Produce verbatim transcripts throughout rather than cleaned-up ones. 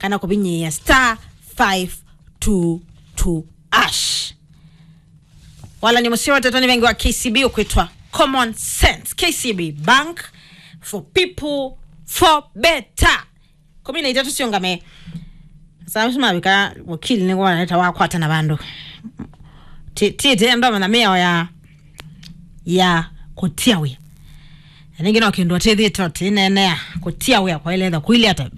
kana kũvinyĩĩa star five two two hash. Walany'a mũseo wa tata nĩ vengi wa K C B ũkwĩtwa Common Sense. K C B Bank for people, for better. Kũmi na itatũ siũngame. Sasa mavika wakili nĩ waneta wakwata na vandũ. Ti ti ti ndo mana mĩao ya ya kũtia wĩa. Na ningĩ no kĩndũ atĩthĩte ũtineenea kũtia wĩa kwa ile etha kuilyata.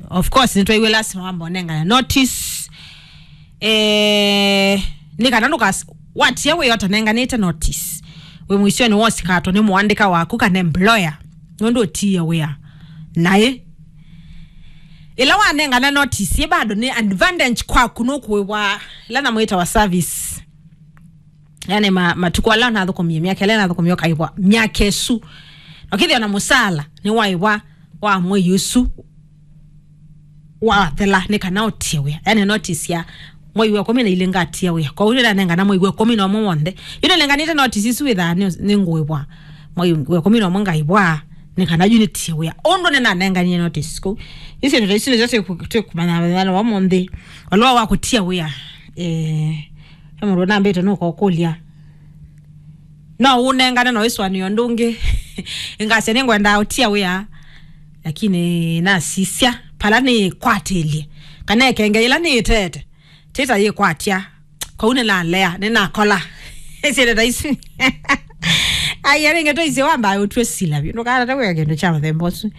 Of course nĩtwaiwe lasima wamba ũnengane notice. Eh, nĩ kana ndũkas watia wĩa ũtanenganĩte notice, wĩ mũisyonĩ wa ũsikatwa nĩ mũandĩka waku kana employer nũndũ ũtiie wĩa naĩ. Ĩla wanengana notice ĩ bado nĩ advantage kwaku, nũkũĩvwa ĩla namwĩtawa service. Yani ma, matukũ ala nathũkũmie, myaka ĩla nathũkũmie ũkaĩvwa myaka ĩsu. Na ũkĩthĩa na mũsala nĩ waĩvwa wa mwei ũsu wathela nĩ kana ũtie wĩa. Yani notice ya mwei wa ĩkũmi na ilĩ ngatia wĩa. Kwoou nĩnanengana mwei wa ĩkũmi na ũmwe w'onthe. Yu nĩnenganĩte notice isu wĩthaa nĩ, nĩ ngũĩvwa mwei wa ĩkũmi na ũmwe ngaĩvwa nĩ kana yu nĩtie wĩa. Ũndũ nĩnanenganie notice kũu. Isu ndio isu nĩsyo twĩkũmanya mũthenya wa ũmũnthĩ. Walũa wa kũtia wĩa. Eh, he mũndũ nambĩte nũkokũlya. No ũnengane no ĩsũanĩo ũndũ ũngĩ. Ngasya nĩngwenda ũtia wĩa, lakini nasisya pala nĩkwatĩlye kana ĩkenge ĩla nĩĩtete tĩta yĩkwatya. Kwoou nĩnalea, nĩnakola. Syĩndũ ta isu. Ai, arĩngĩ tũisye wamba ũtw'e sila vyũ. Ndũkatate kwĩka kĩndũ kya mũthemba ũsu.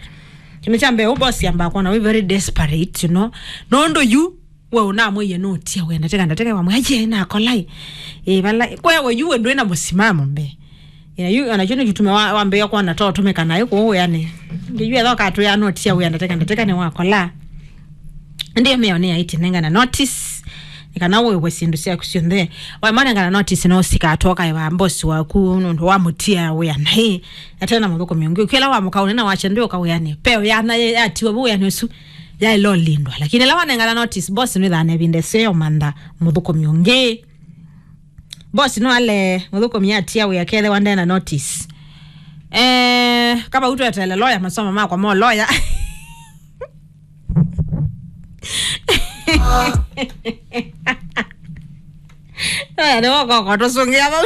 Kĩndũ kya mbee, ũbosi ambaa kwona wĩ very desperate, you know. Nũndũ yu we ũnamwĩie nũtia wĩa ndatĩka ndatĩka, wamwĩa aye nakolai. Ĩ vala kwewe yu we ndwĩ na mũsimamo mbee. Ĩ, na yu ona kyu nĩkĩtume wa- wambĩĩa kwona to ũtũmĩka naĩ kũũ wĩanĩ. Ngĩ yu etha ũkatwĩa nũtia wĩa ndatĩka ndatĩka nĩwakola. Ĩndĩ mĩao nĩ yaĩtye nengana notice nĩ kana ũĩwe syĩndũ syaku syonthe. Waimanengana notice no sikatoka ĩva boss waku nũndũ wa mũtia wĩa naĩ atena mũthũkũmi ũngĩ. Ũkĩla wa mũkaũnĩ na wacha ndĩ ũkawĩanĩ peo yana yatiwa vu wĩanĩ ũsu yaĩlolindwa. Lakini ĩla wanengana notice boss nĩthana ĩvinda ĩseo mantha mũthũkũmi ũngĩ. Boss no ale mũthũkũmi atia wĩa kethĩwa ndena notice. Eh, kaba utwetele lawyer, masomo makwa mo lawyer. Lawyer nĩ wokoko tũsũngĩa vau.